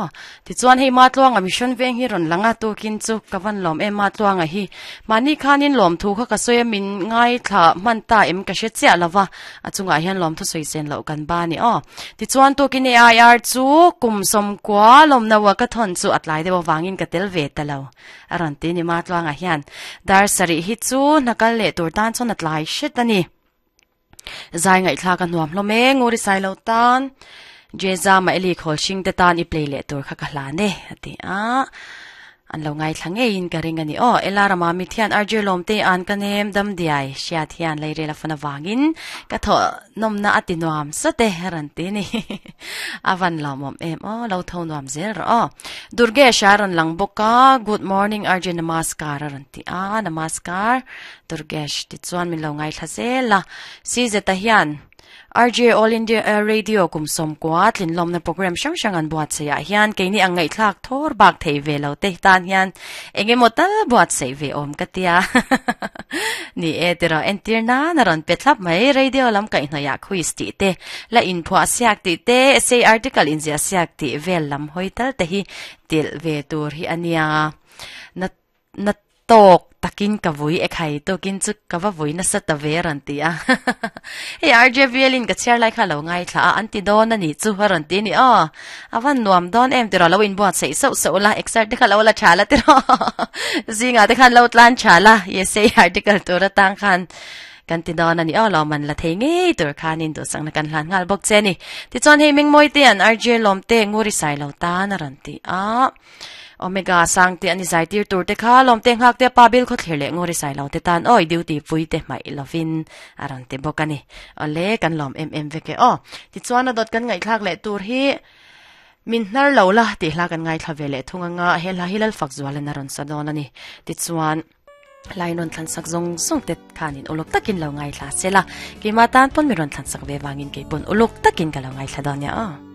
aw. Tichuan hei Matluanga Mission Veng hi rawn lang a, tukin chu ka van lawm em Matluanga hi. Mahni khanin lawmthu kha ka sawi a, min ngaithla hman ta em ka hre chiah lo va, a chungah hian lawmthu sawi sen loh kan ba ni aw. Tichuan tukin AIR chu kum sawmkua lawmna ua ka thawn chu a tlai deuh avangin ka tel ve ta lo a rawn ti ni Matluanga hian. Dar sarih hi chu hna kal leh tur tan chuan a tlai hret a ni. Zai ngaihthlak a nuam hlawm e, Nguri Sailo tan Jeza Maeli khawl hring te tan i play leh tur kha ka hlan e a ti a, an lo ngaithla ngeiin ka ring a ni aw. Ela rama mit hian RJ Lawmte an ka nem dam diai hriat hian leirel a fan avangin ka thawh nawmna a ti nuam sawt e a rawn ti a ni. A van lawmawm em aw, lo tho nuam zel rawh aw. Durgesh a rawn lang bawk a, Good morning RJ Namaskar a rawn ti a, Namaskar. Durgesh tichuan min lo ngaithla zel a. CZ-a hian RJ All India Radio kum sawmkua tlinlawmna program hrang hrang an buatsaih ah hian keini ang ngaihthlak thawr bak thei ve lo te tan hian eng emaw tal buatsaih ve awm ka tia. Ni e tiraw entir nan a rawn pe thlap mai radio lam kaihhnawih ah quiz tih te, la inphuah siak tih te, essay article inziah siak tih vel lam hawi tal te hi tilh ve tur hi a nia. Na Na tawk takin ka vui e khai tukin chu ka va vui nasa ta ve a rawn ti a. Hei RJVL in ka chhiar lai kha a lo ngaithla a, an ti dawn a nih chu a rawn ti a ni aw. A van nuam dawn em tiraw lo inbuatsaih sauh sauh la, exer te kha lo la tha la tiraw. Zingah te khan lo tlan tha la, essay article tur atang khan kan ti dawn a ni aw lawm an la thei ngei tur khanin duhsakna kan hlan nghal bawk che a ni. Tichuan hei Mengmawi te an RJ Lawmte Nguri Sailo tan a rawn ti a. Omega sang te ani zai tir tur te kha lawm te nghak te pa bil khawthlir leh ngawri sai lo te tan awi duty pui te hmaih lovin a rawn ti bawk ani. Awle kan lawm em em vek e aw. Tichuan a dawt kan ngaihthlak leh tur hi min hnar lo la tih hla kan ngaithla ve leh thung anga he hla hi Lalfak Zualan a rawn sa dawn ani. Tichuan Line rawn thlan sak zawng zawng te khanin uluk takin lo ngaithla se la. Keimah tan pawn mi rawn thlan sak ve vangin kei pawn uluk takin ka lo ngaithla dawn nia aw.